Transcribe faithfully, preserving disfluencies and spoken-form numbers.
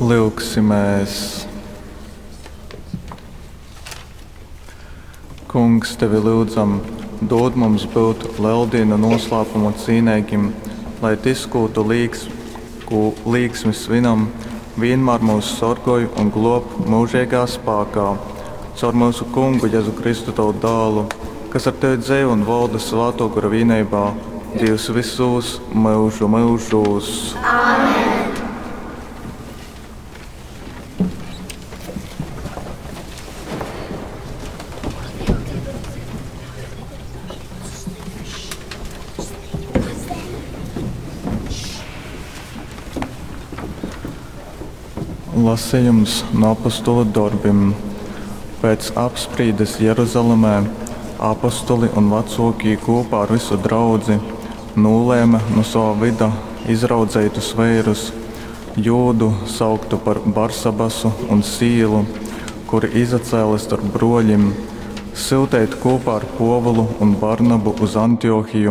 Lyugsimēs! Kungs, tevi lyudzam, dod mums būt Leldīnu noslēpumu cīneigim, lai tys, kū tu līks, kū līksmi svinam, vienmēr mūs sorgoj un glob mūžīgā spākā. Caur mūsu Kungu Jezu Kristu tavu dālu, kas ar tevi dzeivo un valda Svātō Gora vīneibā, Dievs visos mūžu mūžos. Āmen! Lasījums no apostulu darbiem. Pēc apsprīdes Jeruzalemē apostuli un vecākie kopā ar visu draudzi nolēma no sava vida izraudzeitus vērus, Jūdu sauktu par Barsabasu un Sīlu, kuri izacēla starp broļiem, syutīt kopā ar Pōvulu un Barnabu uz Antiohiju,